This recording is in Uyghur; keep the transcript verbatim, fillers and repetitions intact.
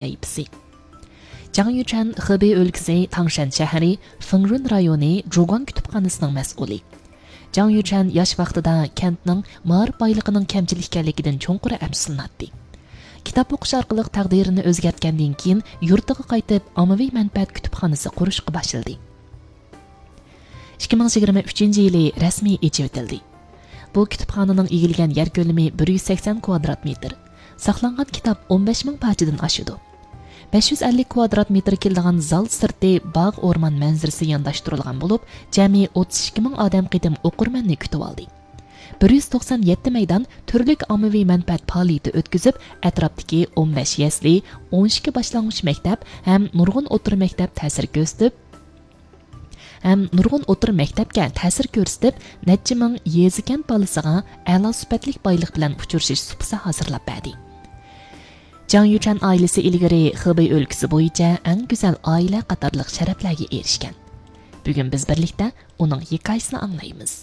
سەھىپىسى. جاڭ يۈچەن خېبېي ئۆلكىسى تاڭشەن شەھىرى فېڭرۇن رايونى جۇگۇاڭ كۇتۇپخانىسىنىڭ مەسئۇلى. جاڭ يۈچەن ياش ۋاقتىدا كەنتنىڭ مائارىپ بايلىقىنىڭ كەمچىل ئىكەنلىكىدىن چوڭقۇر ئەپسۇسلىناتتى. كىتاب ئوقۇش ئارقىلىق تەقدىرىنى ئۆزگەرتكەندىن كېيىن، يۇرتىغا قايتىپ، ئاممىۋى مەنپەئەت كۇتۇپخانىسى قۇرۇشقا باشلىدى. ئىككى مىڭ يىگىرمە ئۈچىنچى يىلى رەسمىي ئېچىۋېتىلدى. بۇ كۇتۇپخانىنىڭ ئىگىلىگەن يەر كۆلىمى بىر يۈز سەكسەن كۋادرات مېتىر، ساقلانغان كىتاب ئون بەش مىڭ پارچىدىن ئاشىدۇ. بەش يۈز ئەللىك كۋادرات مېتىر كېلىدىغان زال سىرتى باغ ئورمان مەنزىرىسى يانداشتۇرۇلغان بولۇپ، جەمئىي ئوتتۇز ئىككى مىڭ ئادەم قېتىم ئوقۇرمەننى كۈتۈۋالدى. بىر يۈز توقسان يەتتە مەيدان تۈرلۈك ئاممىۋى مەنپەئەت پائالىيىتى ئۆتكۈزۈپ، ئەتراپتىكى ئون بەش يەسلى، ئون ئىككى باشلانغۇچ مەكتەپ ھەم نۇرغۇن ئوتتۇرا مەكتەپ تەسىر كۆرسىتىپ، ھەم نۇرغۇن ئوتتۇرا مەكتەپكە تەسىر كۆرسىتىپ، نەچچە مىڭ يېزا كەنت بالىسىغا ئەلا سۈپەتلىك بايلىق بىلەن ئۇچرىشىش سۇپىسى ھازىرلاپ بەردى. جاڭ يۈچەن ئائىلىسى ئىلگىرى خېبېي ئۆلكىسى بويىچە ئەڭ گۈزەل ئائىلە قاتارلىق شەرەپلەرگە ئېرىشكەن. بۈگۈن بىز بىرلىكتە ئۇنىڭ ھېكايىسىنى ئاڭلايمىز.